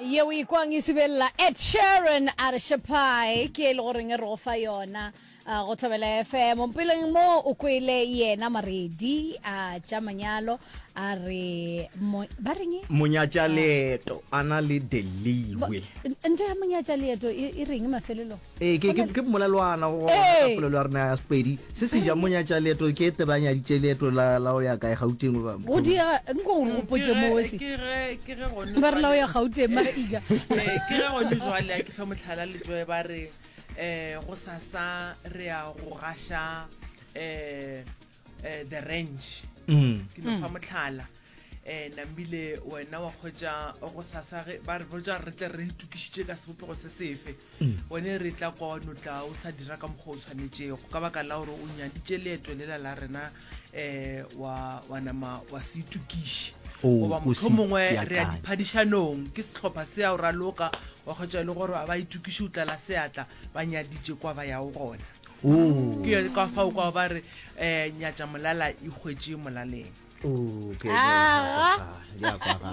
Yeo e kwang e sibelela Ed Sheeran a re Shapai ke e le goreng re go fa yona uh, go Thobela FM. Mpeleng mo o kwele yena Maredi a tša manyalo a re mo, ba reng? Monyatša leeto a na le Deliwe. Ntho ya monyatša leeto e, e reng mafelelong? Ee, ke, ke, ke mmolelwana go ka polelo ya rena ya Sepedi. Se se ja monyatša leeto ke te ba nyaditše leeto la, la go ya kae Gauteng goba Go diega, nko o re gopotše mo wesi. Ke ge, ke ge gone Ba re la go ya Gauteng mara iga. Eh, ke ge gone jwale a ke fe mohlala letšoe ba re eh go sasa re ya go gaša eh eh the ranch Mm. ke no fa mohlala eh nambile wena wa kgwetša go sasa ge ba re botša re tle re itokišitše ka sebopego se sefe One re tla kwa wa no tla o sa dira ka mokgwa o tshwanetšego ka baka la gore o nyaditše leeto lela la rena um wa, wa nama wa se itokiše O- goba o motho se mongwe re ya beakanye. diphadišanong ke sehlopha se ya o raloka wa kgwetša e le gore a ba itokiše o tlala seatla ba nyaditše kwa ba yago gona Oh. ke yone ka fao kwa ba re um nyatša molala e hwetše molaleng Aga.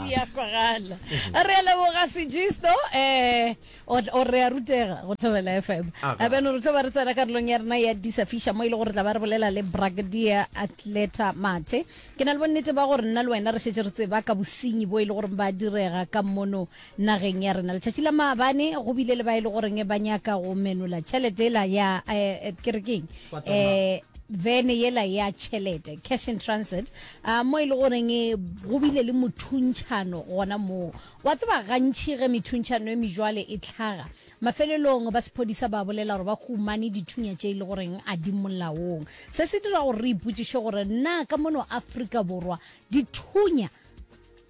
Di a kwagala. Re a leboga Sejisto eh o re a rutega go Thobela FM. Aga. Beno re tlo ba re tsena karolong ya rena ya Disa Fisha mo e le gore tla ba re bolela le Brigadier Athleta Mathe. Ke na le bonnete ba gore nna le wena re šetše re tseba ka bosenyi bo e le gore ba direga ka mono nageng ya rena. Letšatši la maabane go bile le ba e le goreng ba nyaka go menola tšhelete ela ya eh, ke re keng? Eh vene yela ya tšhelete cash in transit uh, mo e le goreng e, go bile le mothuntšhano gona moo wa tseba gantši ge methuntšhano e mejwale e tlhaga mafelelong ba sephodisa ba bolela gore ba humane dithunya tše e le goreng a di molaong se se dira gore re ipotšiše gore na ka mono Afrika Borwa dithunya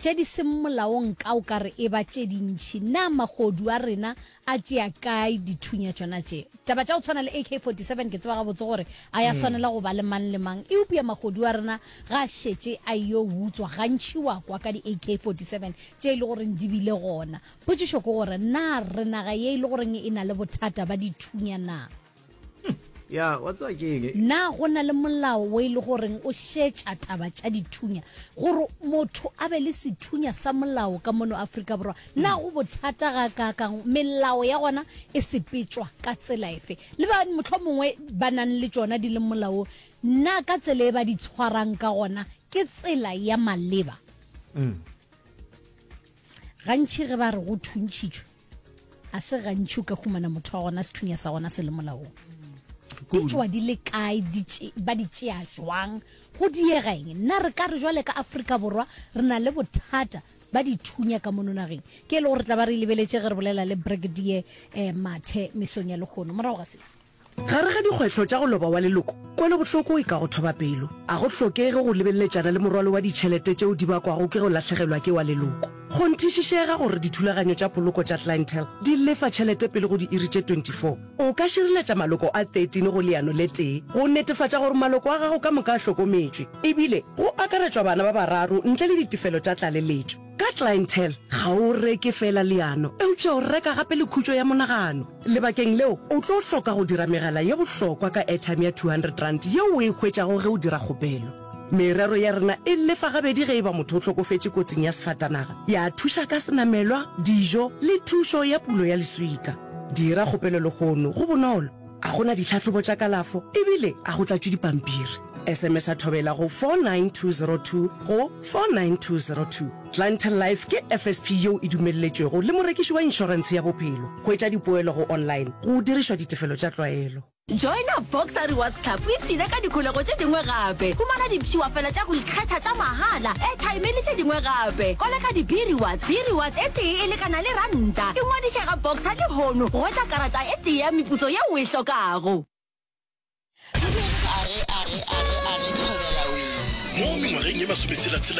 Tše di seng molaong ka o ka re e ba tše dintši. Na mahodu a rena a tšea kae dithunya tšona tše? Taba tša go tshwana le AK-47 ke tseba gabotse gore a ya swanela go ba le mang le mang, eupša mahodu a rena ga a šetše a eyo utswa gantši wa kwa ka di AK-47 tše e le goreng di bile gona. Potšišo ke gore na re naga ye e le goreng e na le bothata ba dithunya na? Ya, wa tseba ke eng? Na go na le molao wo e le goreng o šetša taba tša dithunya gore motho a be le sethunya sa molao ka mono Afrika Borwa? Na go bothata gakaakang? Melao ya gona e sepetšwa ka tsela efe? Le ba mohlomongwe ba nang le tšona di leng molaong, na ka tsela e ba di tshwarang ka gona ke tsela ya maleba? Gantši ge ba re go thuntšhitšwe, A se gantši o ka humana motho wa gona sethunya sa gona se le molaong. Di tšwa di le kae, di tše, ba di tšea jwang, go diega eng? Na re ka re jwale ka Afrika Borwa re na le bothata ba dithunya ka mono nageng? Ke e le gore re tla ba re e lebeletše ge re bolela le Brigadier eh, Mathe mesong ya lehono. Morago ga se. Gare ga dikgwetlho tša go loba wa leloko, kwelobohloko e ka go thoba pelo. A go hlokege go lebeleletšana le morwalo wa ditšhelete tšeo di bakwago ke go lahlegelwa ke wa leloko. Kgonthišišega gore dithulaganyo tša poloko tša Clientele di lefa tšhelete pele go diiri tše 24. O ka šireletša maloko a 13 go leano le tee go netefatša gore maloko a gago ka moka a hlokometšwe, ebile go akaretšwa bana ba bararo ntle le ditefelo tša tlaleletšo. Ka Clientele, ga o reke feela leano, eupša o reka gape le khutšo ya monagano. Lebakeng leo, o tlo hloka go dira megala ye bohlokwa ka airtime ya R200 yeo o e hwetšago ge o dira kgopelo. Merero ya rena e lefa gabedi ge e ba motho o hlokofetše kotsing ya sefatanaga, ya thuša ka senamelwa, dijo le thušo ya pulo ya leswika. Dira kgopelo lehono, go bonolo, ga go na ditlhahlobo tša kalafo ebile ga go tlatšwe dipampiri. SMS-a Thobela go 49202 go 49202. Clientele Life ke FSP yeo e dumelletšwego le morekiši wa inšorentshe ya bophelo. Hwetša dipoelo go online go dirišwa ditefelo tša tlwaelo. Joina Boxer Rewards Club o ipshine ka dikholego tše dingwe gape. Humana dipshiwafela tša go ikgetha tša mahala, airtime le tše dingwe gape. Koleka di-B-Rewards, B-Rewards e tee e lekana le ranta. Ingwadiše ga Boxer lehono go hwetša karata e tee ya meputso yeo o e hlokago. Mo mengwageng ye masometshela-tshela.